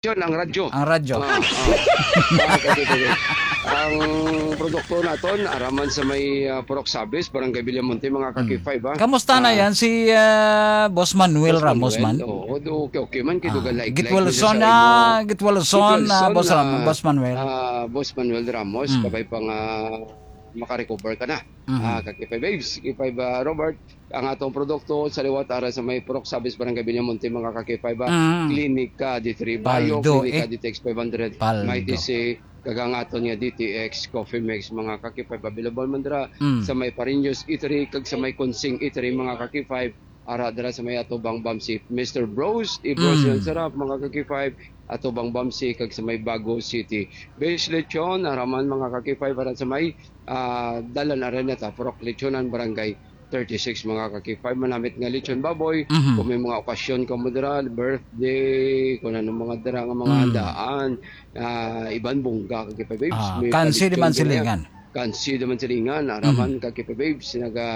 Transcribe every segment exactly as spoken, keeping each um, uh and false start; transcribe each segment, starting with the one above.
Yun, ang radyo. Ang radyo. Ah, ah. Ah, okay, okay, okay. Ang produkto naton, araman sa may, ah, Purok Sabis, Barangay Villamonte, mga ka-K five, ah. Kamusta na Ah. yan si, ah, Boss Manuel Boss Ramos Manuel, man? Oo, do, okay, okay man, kay Ah, dugang laiklay gitwalson ko na, sa imo. gitwalson na, Gitwalson Boss na, Ram-, Boss Manuel. ah, Boss Manuel Ramos, Mm. kabay pa nga makarecover ka na. Mhm. Ah, ka-K five Babes, K five, ah, Robert, ang atong produkto sa liwat ara sa may Purok Sabis, Barangay Villamonte, mga ka-K five, ah, Mm. klinika, diri Bio, Paldo, klinika, eh. D T X five hundred, Paldo. May T C, kag ang aton nga D T X Coffee Mix, mga ka-K five, available man dira Mm. sa may Pariños Eatery kag sa may Consing Eatery, mga ka-K five, ara dira sa may atubang Bamsi, Mister Bros, Ibros Mm. Yan Sarap, mga ka-K five, atubang Bamsi kag sa may Bago City. Base Lechon, araman, mga ka-K five, ara sa may, ah, Dalan Araneta, Purok Lechonan, Barangay thirty-six, mga ka-K five, manamit nga lechon baboy. Mhm. Kung may mga okasyon ka mo dira, birthday, kung ano mga dira nga mga Hmm. handaan, ah, iban bungga, ka-K five Babes. Ah, May kansi di man paliton ka niya. Silingan. Kansi di man silingan, araman, Mhm. ka-K five Babes,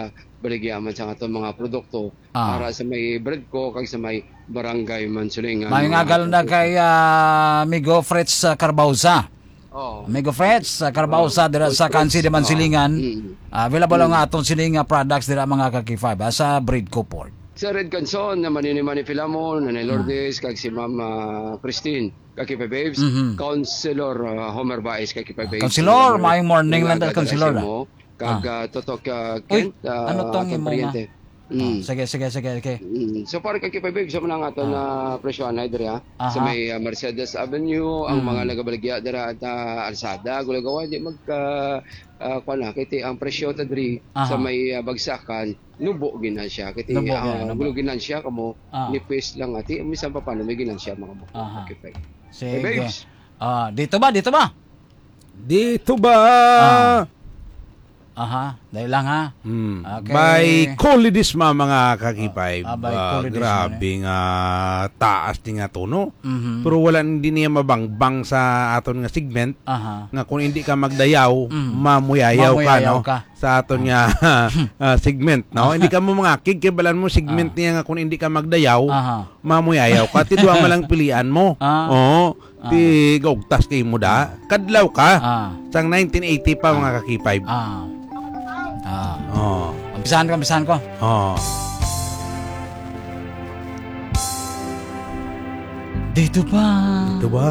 nagabaligya man sa aton mga produkto Ah. para sa may Bredco kag sa may Barangay Mansulingan, May mga ngagal na ka-K five. Kay, ah, Migo Fritz, ah, Carbauza. Oo. Amigo Fritz, sa Carbauza, Oh, dira sa Fritz, Kansi de oh. Mansilingan. Mm. Ah, available ang Mm. atong siling nga products dira, mga ka-K five, ah, sa Bredco Port. Sa Red Canson, na Manini Mani Filamon, Nanay Mm. Lourdes, kag si Ma'am, ah, Christine, ka-K five Babes, Mhm. Councilor, ah, Homer Baez, ka-K five Ah, Babes, Councilor, Homer, maayong morning mga lang, kadara Councilor, sa ah. imo, kag, Ah. ah, Totok, ah, Uy, Kent, ah, ano tong atong imo nga? paryente. Mm. Oh, sige, sige, sige, sige. Mm. So, para ka-K five Babes, sa mga nga ato Ah. na presyo anay diri, ha? Sa Aha. may, ah, Mercedes Avenue, ang Mm. mga nagabaligya dira at, ah, Alsada, Gulagawa, di magka, ah, kuwan na, kay ti ang presyo ta diri Aha. sa may, ah, bagsakan, nubo gina siya. Kay ti Nubo ang gina, nubo. gulo gina siya, kamo, Ah. nipis lang, ati, misan pa paano may ginansya, mga mo. Aha. Okay, fine. Sige. Hey, babes. Ah, dito ba? Dito ba? Dito ba? Ah. Aha, dahil lang, ha? Hmm. Okay. By Colidisma, mga ka-K five. Ah, ah, by Ah, Colidisma, grabe eh. nga taas ni nga tono. Mhm. Pero wala, hindi niya mabangbang sa aton nga segment Aha. nga kung hindi ka magdayaw, Mhm. mamuyayaw ka, Mamuyayaw no? ka. Sa aton Ah. nga, ah, segment, no? Hindi ka mo mangakig, kay balan mo segment Ah. niya nga kung hindi ka magdayaw, Aha. mamuyayaw ka. Ti duha man lang pilian mo. Ah. Oo. Ah. Ti gaugtas kay mo da. Kadlaw ka. Ah. Sang nineteen eighty pa, mga ka-K five. Ah. Ah. Oh. Umpisahan ko, umpisahan ko. Oh. Dito ba? Dito ba?